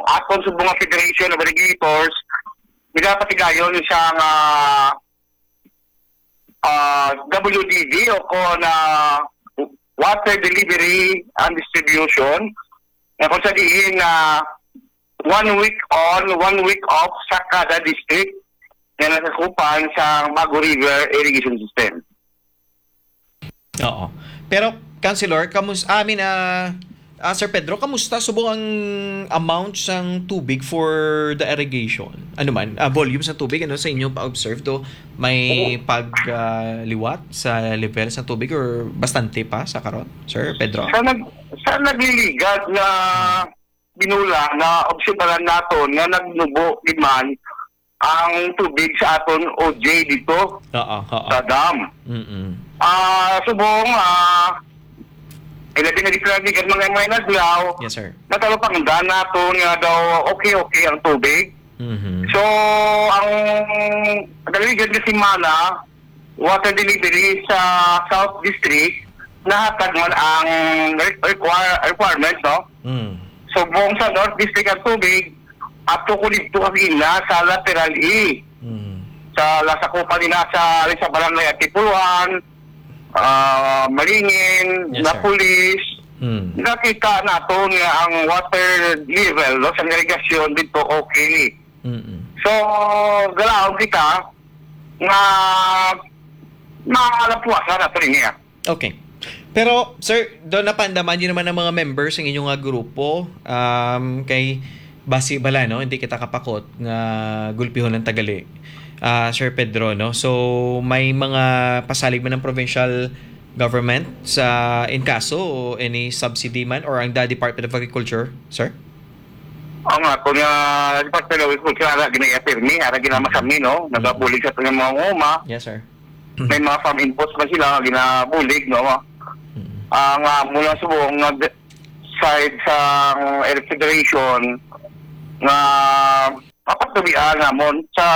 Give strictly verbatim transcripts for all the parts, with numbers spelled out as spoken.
aton subong nga Federation of Irrigators, nagapatigayon sa nga, ah, W D D o kon, ah, Water Delivery and Distribution, na kung sa diin na one week on, one week off sa kada district na nasakupan sa Bago River Irrigation System. Oo. Pero, Councilor, kamus-, I mean, ah, ah, Sir Pedro, kamusta subong ang amount sang tubig for the irrigation? Ano man, ah, volume sa tubig, ano, sa inyong pa-observe, do may pag, ah, liwat sa level sa tubig or bastante pa sa karon, Sir Pedro? Sa nag-, sa nagliligad na binula, na obserbaran naton nga nagnubo gid man ang tubig sa aton O J dito Oo, oo. sa dam. Mm-mm. Ah, subong, ah, ilabi na gid sila gikan mga, mga adlaw, Yes, sir. natalupangdan naton nga daw okay-okay ang tubig. Mhm. So, ang nagligad nga semana, water delivery sa South District, nahatag man ang re-, require-, requirement, no? Mm. So, buong sa North District ang tubig, ato ko dito kagina sa lateral E. Mm. Sa lasakupan nila sa, sa barangay Atipuluhan, ah, Malingin, Yes, sir. Napulis, Mm. nakita nato nga ang water level, no, sa irigasyon dito okay. Mm-mm. So, galaw kita nga malapuasan nato niya. Okay. Pero, sir, do napaandaman niyo naman ang mga members ng inyong nga grupo, um, kay basi bala, no? Hindi kita kapakot nga gulpihon ng tagali, ah, Sir Pedro, no? So, may mga pasalig man ng provincial government sa inkaso o any subsidy man or ang the Department of Agriculture, sir? Oo nga, kung, ah, Department of Agriculture, ara ginaapirmi, ara ginamasami, no? Nagabulig sa aton nga mga uma. Yes, sir. May mga farm inputs pa sila nga ginabulig, no? Mm. Ah, nga mula subong nga de-, side sa Electric Federation nga mapatubian namon sa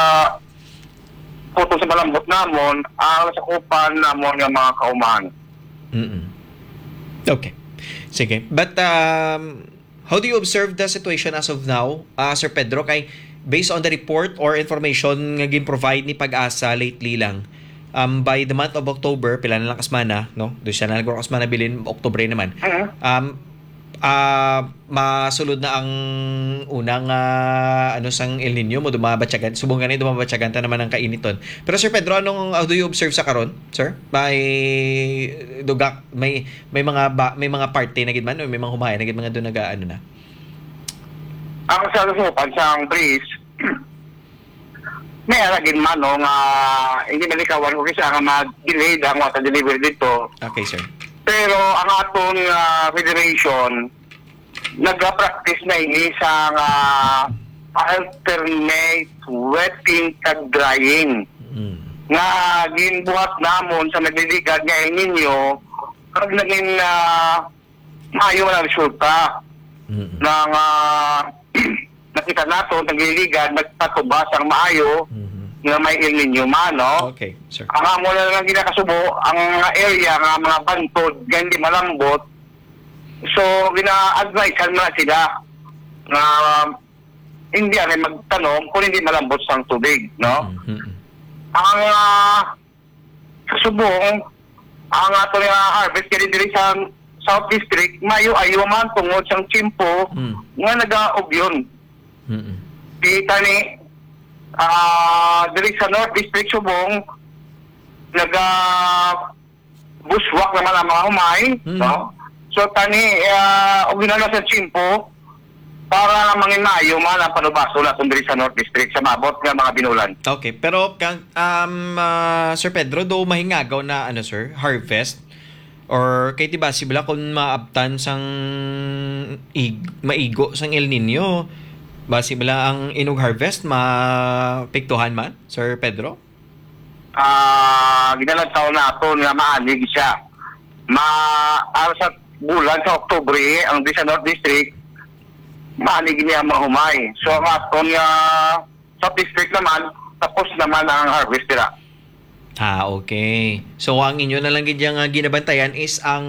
putol sa malambot namon ang sakupan namon nga mga kaumahan. Mm-mm. Okay. Sige. But, um, how do you observe the situation as of now, ah, Sir Pedro? Kay based on the report or information nga gin-provide ni PAGASA lately lang, um, by the month of October, pila na lang ka semana, no? Doon siya na lang ka semana bilin, Oktubre naman. Mhm. Um, ah, masulod na ang unang, ah, ano, sang El Nino, mo dumabatyagan. Subong gani, dumabatyagan ta naman ang kainiton. Pero, Sir Pedro, anong, how do you observe sa karon, sir? May dugak, may, may mga ba, may mga parte na gid man, o may mga humaya na gid, mga doon naga-, ano na? Ang sa kasupan sa ang breeze, may ara gid man, no, nga hindi malikawan ko kasi nga ma-delayed ang water delivery dito. Okay, sir. Pero ang aton, ah, federation, nagapractice na ini sa nga alternate wetting kag drying. Mm. Nga ginbuhat namon sa nagliligad nga El Nino, kag naging, ah, maayo man ang resulta. Mm. Nga, nga nakita nato, nagliligad, nagpatubas ang maayo Mhm. nga may El Nino man, no? Okay, sir. Ang amo na lang ginakasubo, ang mga area nga mga bantod, nga hindi malambot, so, gina-advisean mo na sila nga hindi anay magtanom kung hindi malambot sang tubig, no? Mhm. Ang, ah, sa subong, ang ato nga harvest kini diri sa South District, maayo-ayo man tungod sang tiyempo Mm. nga nagaugyon. Mm-mm. Kita ni, ah, diri sa North District subong, naga buswak naman ang mga humay, Mm. no? So, tani, ah, og ginala sa tiyempo, para mangin maayo man ang panubaso naton diri sa North District sa maabot nga mga binulan. Okay, pero kang, um, ah, Sir Pedro, do mahingagaw na, ano, sir, harvest? Or kay, di ba, sibla kung maabtan sang ig-, maigo sang El Nino, ba sibla ang inog harvest mapiktuhan man, Sir Pedro? Ah, ginalantaw naton nga maanig siya. Ma-, ah, sa bulan sa Oktubre, ang di sa North District, maanig niya mahumay. So, ang aton nga South District naman, tapos naman ang harvest nila. Ah, okay. So, ang inyo na lang gid nga ginabantayan is ang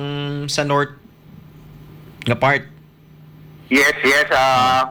sa north nga part? Yes, yes. Ah,